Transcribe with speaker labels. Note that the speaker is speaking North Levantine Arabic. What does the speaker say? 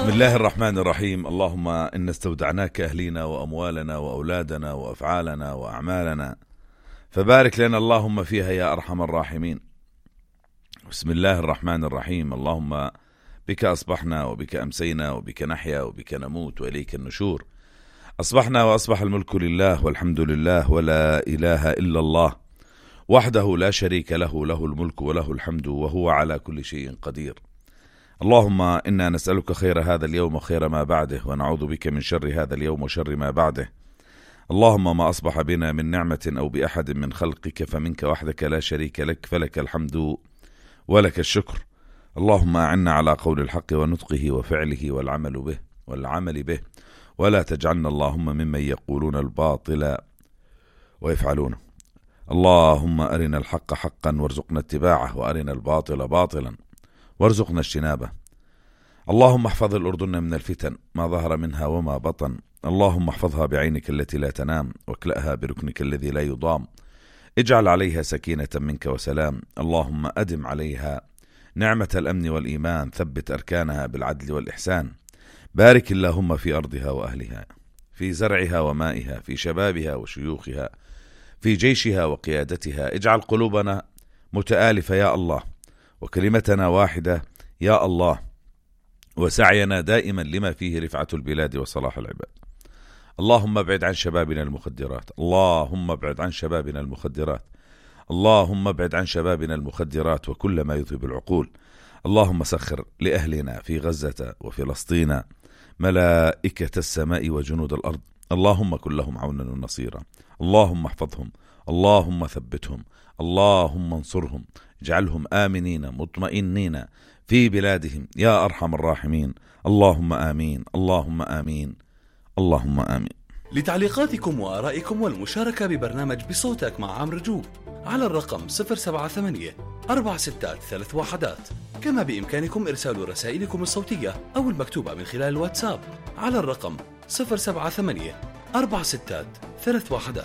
Speaker 1: بسم الله الرحمن الرحيم. اللهم إن استودعناك أهلينا وأموالنا وأولادنا وأفعالنا وأعمالنا فبارك لنا اللهم فيها يا أرحم الراحمين. بسم الله الرحمن الرحيم. اللهم بك أصبحنا وبك أمسينا وبك نحيا وبك نموت وإليك النشور. أصبحنا وأصبح الملك لله والحمد لله ولا إله إلا الله وحده لا شريك له، له الملك وله الحمد وهو على كل شيء قدير. اللهم إنا نسألك خير هذا اليوم وخير ما بعده، ونعوذ بك من شر هذا اليوم وشر ما بعده. اللهم ما أصبح بنا من نعمة أو بأحد من خلقك فمنك وحدك لا شريك لك، فلك الحمد ولك الشكر. اللهم أعنا على قول الحق ونطقه وفعله والعمل به ولا تجعلنا اللهم ممن يقولون الباطل ويفعلونه. اللهم أرنا الحق حقا وارزقنا اتباعه، وأرنا الباطل باطلا وارزقنا اجتنابه. اللهم احفظ الأردن من الفتن ما ظهر منها وما بطن. اللهم احفظها بعينك التي لا تنام، واكلأها بركنك الذي لا يضام. اجعل عليها سكينة منك وسلام. اللهم أدم عليها نعمة الأمن والإيمان، ثبت أركانها بالعدل والإحسان. بارك اللهم في أرضها وأهلها، في زرعها ومائها، في شبابها وشيوخها، في جيشها وقيادتها. اجعل قلوبنا متآلفة يا الله، وكلمتنا واحدة يا الله، وسعينا دائما لما فيه رفعة البلاد وصلاح العباد. اللهم ابعد عن شبابنا المخدرات، اللهم ابعد عن شبابنا المخدرات، اللهم ابعد عن شبابنا المخدرات وكل ما يذهب العقول. اللهم سخر لأهلنا في غزة وفلسطين ملائكة السماء وجنود الأرض. اللهم كن لهم عونا ونصيرا. اللهم احفظهم، اللهم ثبتهم، اللهم انصرهم، اجعلهم آمنين مطمئنين في بلادهم يا أرحم الراحمين. اللهم آمين، اللهم آمين، اللهم آمين.
Speaker 2: لتعليقاتكم وآرائكم والمشاركة ببرنامج بصوتك مع عمرو جوب على الرقم 078-463-1. كما بإمكانكم إرسال رسائلكم الصوتية أو المكتوبة من خلال الواتساب على الرقم 078-463-1.